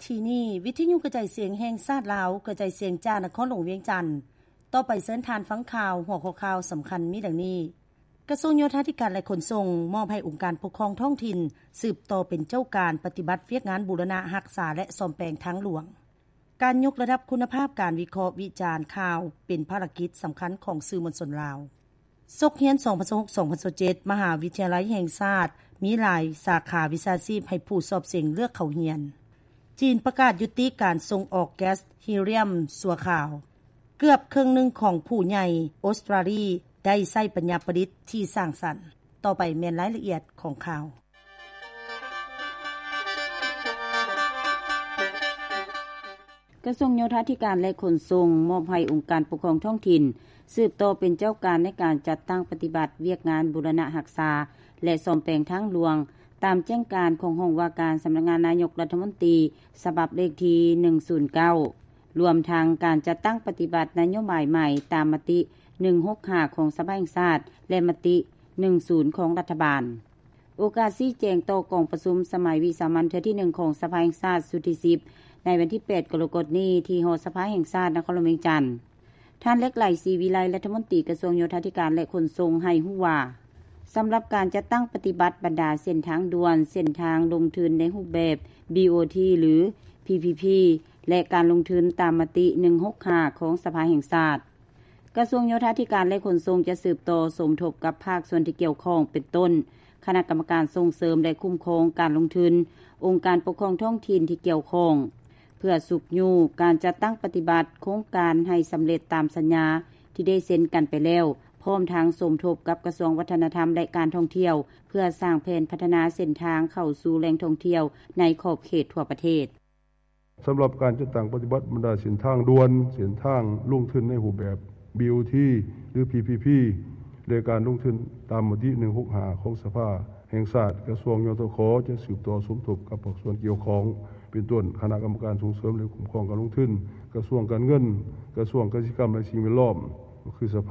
ທີ່ນີ້ ວິທະຍຸກະຈາຍສຽງແຫ່ງຊາດລາວ ກະຈາຍສຽງຈາກນະຄອນຫຼວງວຽງຈັນ. ຕໍ່ໄປເຊີນທ່ານຟັງຂ່າວ. ຫົວຂໍ້ຂ່າວສຳຄັນມີດັ່ງນີ້: ກະຊວງໂຍທາທິການ ແລະ ຂົນສົ່ງ ມອບໃຫ້ອົງການປົກຄອງທ້ອງຖິ່ນ ສືບຕໍ່ເປັນເຈົ້າການປະຕິບັດວຽກງານບູລະນະຮັກສາ ແລະ ສ້ອມແປງທາງຫຼວງ. ການຍົກລະດັບຄຸນນະພາບການວິເຄາະວິຈານຂ່າວ ເປັນພາລະກິດສຳຄັນຂອງສື່ມວນຊົນລາວ. ສົກຮຽນ ສອງພັນຊາວຫົກ ສອງພັນຊາວເຈັດ ມະຫາວິທະຍາໄລແຫ່ງຊາດ ມີຫຼາຍສາຂາວິຊາຊີບໃຫ້ຜູ້ສອບເສັງເລືອກເຂົ້າຮຽນ. ຈີນປະກາດຍຸຕິການສົ່ງອອກແກັສຮີລຽມຊົ່ວຄາວ. ເກືອບເຄິ່ງໜຶ່ງຂອງຜູ້ໃຫຍ່ອົດສະຕຣາລີ ໄດ້ໃຊ້ປັນຍາປະດິດທີ່ສ້າງສັນ. ຕໍ່ໄປແມ່ນລາຍລະອຽດຂອງຂ່າວ. ກະຊວງໂຍທາທິການ ແລະ ຂົນສົ່ງ ມອບໃຫ້ອົງການປົກຄອງທ້ອງຖິ່ນ ສືບຕໍ່ເປັນເຈົ້າການໃນການຈັດຕັ້ງປະຕິບັດວຽກງານບູລະນະຮັກສາ ແລະ ສ້ອມແປງທາງຫຼວງ ຕາມແຈ້ງການຂອງຫ້ອງວ່າການສຳນັກງານນາຍົກລັດຖະມົນຕີ ສະບັບເລກທີໜຶ່ງສູນເກົ້າ ລວມທັງການຈັດຕັ້ງປະຕິບັດນະໂຍບາຍໃໝ່ຕາມມະຕິໜຶ່ງຫົກຫ້າຂອງສະພາແຫ່ງຊາດ ແລະ ມະຕິໜຶ່ງສູນຂອງລັດຖະບານ. ໂອກາດຊີ້ແຈງຕໍ່ກອງປະຊຸມສະໄໝວິສາມັນເທື່ອທີໜຶ່ງຂອງສະພາແຫ່ງຊາດຊຸດທີສິບ ໃນວັນທີແປດ ກໍລະກົດນີ້ ທີ່ຫໍສະພາແຫ່ງຊາດນະຄອນຫຼວງວຽງຈັນ, ທ່ານ ເລັກໄຫຼ ສີວິໄລ ລັດຖະມົນຕີກະຊວງໂຍທາທິການ ແລະ ຂົນສົ່ງ ໃຫ້ຮູ້ວ່າ ສຳລັບການຈັດຕັ້ງປະຕິບັດບັນດາເສັ້ນທາງດ່ວນ, ເສັ້ນທາງລົງທຶນໃນຮູບແບບ ບີໂອທີ ຫຼື ພີພີພີ ແລະ ການລົງທຶນຕາມມະຕິໜຶ່ງຫົກຫ້າຂອງສະພາແຫ່ງຊາດ, ກະຊວງໂຍທາທິການ ແລະ ຂົນສົ່ງ ຈະສືບຕໍ່ສົມທົບກັບພາກສ່ວນທີ່ກ່ຽວຂ້ອງ ເປັນຕົ້ນ ຄະນະກຳມະການສົ່ງເສີມ ແລະ ຄຸ້ມຄອງການລົງທຶນ, ອົງການປົກຄອງທ້ອງຖິ່ນທີ່ກ່ຽວຂ້ອງ ເພື່ອຊຸກຍູ້ການຈັດຕັ້ງປະຕິບັດໂຄງການໃຫ້ສຳເລັດຕາມສັນຍາທີ່ໄດ້ເຊັນກັນໄປແລ້ວ, ພ້ອມທັງສົມທົບກັບກະຊວງວັດທະນະທຳ ແລະ ການທ່ອງທ່ຽວ ເພື່ອສ້າງແຜນພັດທະນາເສັ້ນທາງເຂົ້າສູ່ແຫຼ່ງທ່ອງທ່ຽວໃນຂອບເຂດທົ່ວປະເທດ. ສຳລັບການຈັດຕັ້ງປະຕິບັດບັນດາເສັ້ນທາງດ່ວນ, ເສັ້ນທາງລົງທຶນໃນຮູບແບບ ບີໂອທີ ຫຼື ພີພີພີ ແລະ ການລົງທຶນຕາມມະຕິໜຶ່ງຫົກຫ້າຂອງສະພາແຫ່ງຊາດ, ກະຊວງ ຍທຂ ຈະສືບຕໍ່ສົມທົບກັບພາກສ່ວນກ່ຽວຂ້ອງ ເປັນຕົ້ນ ຄະນະກຳມະການສົ່ງເສີມ ແລະ ຄຸ້ມຄອງການລົງທຶນ, ກະຊວງການເງິນ, ກະຊວງກະສິກຳ ແລະ ສິ່ງແວດລ້ອມ ກໍຄືສະພາ